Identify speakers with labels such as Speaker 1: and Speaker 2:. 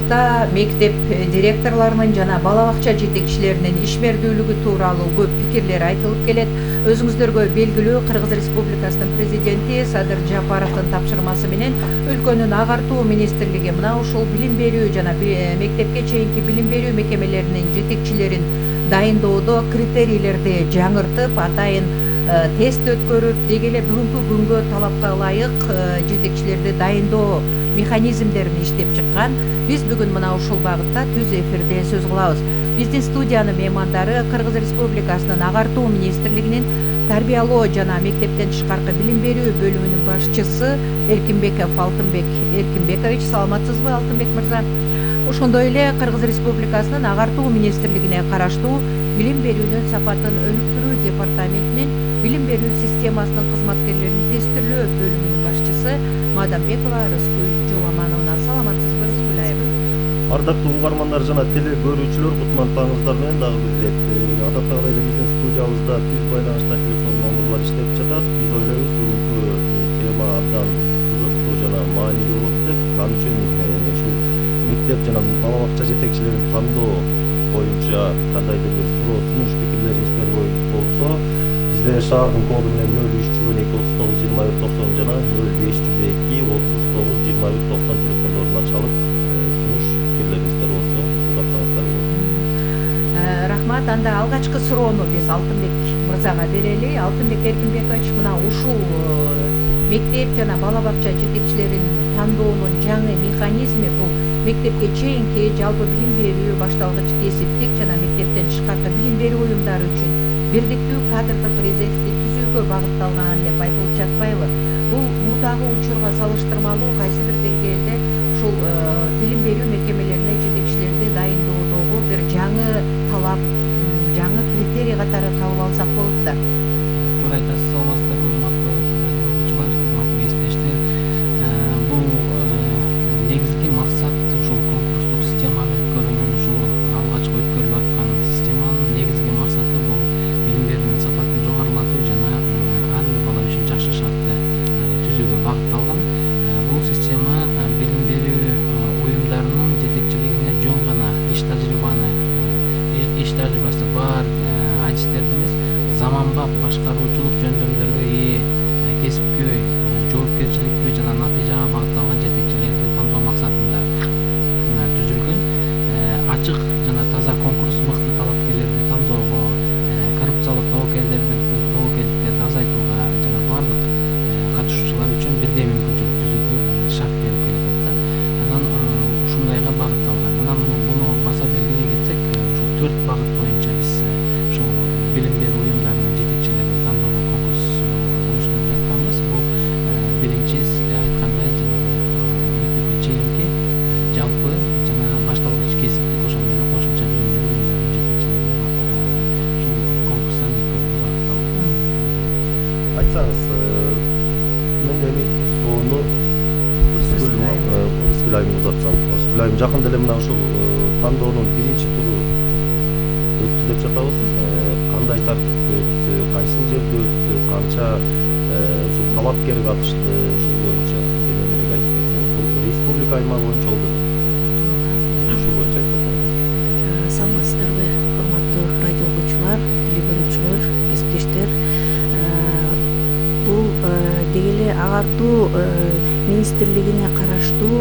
Speaker 1: учурда мектеп директорлорунун жана бала бакча жетекчилеринин ишмердүүлүгү тууралуу көп пикирлер айтылып келет. Өзүңүздөргө белгилүү, Кыргыз Республикасынын президенти Садыр Жапаровдун тапшырмасы менен өлкөнүн агартуу министрлиги мына ушул билим берүү жана мектепке чейинки билим берүү мекемелеринин жетекчилерин дайындоодо критерийлерди жаңыртып, атайын тест өткөрүп, деги эле бүгүнкү күнгө талапка ылайык жетекчилерди дайындоо механизмдерин иштеп чыккан. Биз бүгүн мына ушул багытта түз эфирде сөз кылабыз. Биздин студиянын меймандары Кыргыз Республикасынын агартуу министрлигинин тарбиялоо жана мектептен тышкаркы билим берүү бөлүмүнүн башчысы Эркинбеков Алтынбек Эркинбекович. Саламатсызбы, Алтынбек мырза? Ошондой эле Кыргыз Республикасынын агартуу министрлигине караштуу билим берүүнүн сапатын өнүктүрүү департаментинин билим берүү системасынын кызматкерлерин тестирлөө бөлүмүнүн башчысы Мадамбекова Рыскүл Жоламановна. Саламатсызбы, Рыскүл айым?
Speaker 2: Ардактуу угармандар жана теле көрүүчүлөр, кутмандууларыңыздар менен дагы бир ирет адаттагыдай эле биздин студиябызда түз байланышта телефон номурлар иштеп жатат. Биз ойлойбуз бүгүнкү тема абдан кызыктуу жана маанилүү болот деп. Ал үчүн ушул мектеп жана бала бакча жетекчилерин тандоо боюнча кандайдыр бир суроо сунуш пикирлериңиздер болсо, бизде шаардын коду менен 0312 39 24 90 жана 0502 39 21 90 телефондорунан чалып сунуш пикирлериңиздер болсо узатсаңыздар болот.
Speaker 1: Рахмат. Анда алгачкы суроону биз Алтынбек мырзага берели. Алтынбек Эркинбекович, мына ушул мектеп жана бала бакча жетекчилерин тандоонун жаңы механизми бул мектепке чейинки жалпы билим берүү, башталгыч кесиптик жана мектептен тышкаркы билим берүү уюмдары үчүн бирдиктүү кадрдык резервди түзүүгө багытталган деп айтылып жатпайбы? Бул мурдагы учурга салыштырмалуу кайсы бир деңгээлде ушул билим берүү мекемелерине жетекчилерди дайындоодогу бир жаңы талап, жаңы критерий катары табып алсак болот да.
Speaker 3: Туура айтасыз, саламатсыздарбы, урматтуу радио угуучулар, урматтуу кесиптештер. Бул негизги максат ушул конкурстук системаны өткөрүүнүн, ушул алгачкы өткөрүлүп аткан системанын негизги максаты бул билим берүүнүн сапатын жогорулатуу жана ар бир бала үчүн жакшы шартты түзүүгө багытталган. Бул система билим берүү уюмдарынын жетекчилигине жөн гана иш тажрыйбасы бар адистерди эмес, заманбап башкаруучулук жөндөмдөргө ээ, кесипкөй, жоопкерчиликтүү жана натыйжага багытталган жетекчилерди тандоо максатында түзүлгөн. Ачык жана таза конкурс мыкты талапкерлерди тандоого, коррупциялык тобокелдиктерди азайтууга жана бардык катышуучулар үчүн бирдей мүмкүнчүлүк түзүүгө шарт берип келет да. Анан ушундайга багытталган. Анан муну баса белгилей кетсек, ушул 4 багыт боюнча биз ушул билим берүү уюмдарынын жетекчилерин тандоого конкурс уюштуруп жатканбыз. Бул биринчи айткандай жанагы мектепке чейинки жалпы жана башталгыч кесиптик, ошондой эле кошумча билим берүү уюмдарынын жетекчилерине ушул конкурстан өткөрүүгө багытталган.
Speaker 2: Айтсаңыз, мен эми суроону Рыскүл айым узатсам. Рыскүл айым, жакында эле мына ушул тандоонун биринчи туру өттү деп жатабыз. Кандай тартипте өттү, кайсыл жерде өттү, канча ушул талапкер катышты, ушул боюнча кененирээк айтып берсеңиз. Бул республика аймагы боюнча болду. Ушул боюнча айтып берсеңиз.
Speaker 4: Саламатсыздарбы, урматтуу радио угуучулар, теле көрүүчүлөр, кесиптештер. Бул деги эле агартуу министрлигине караштуу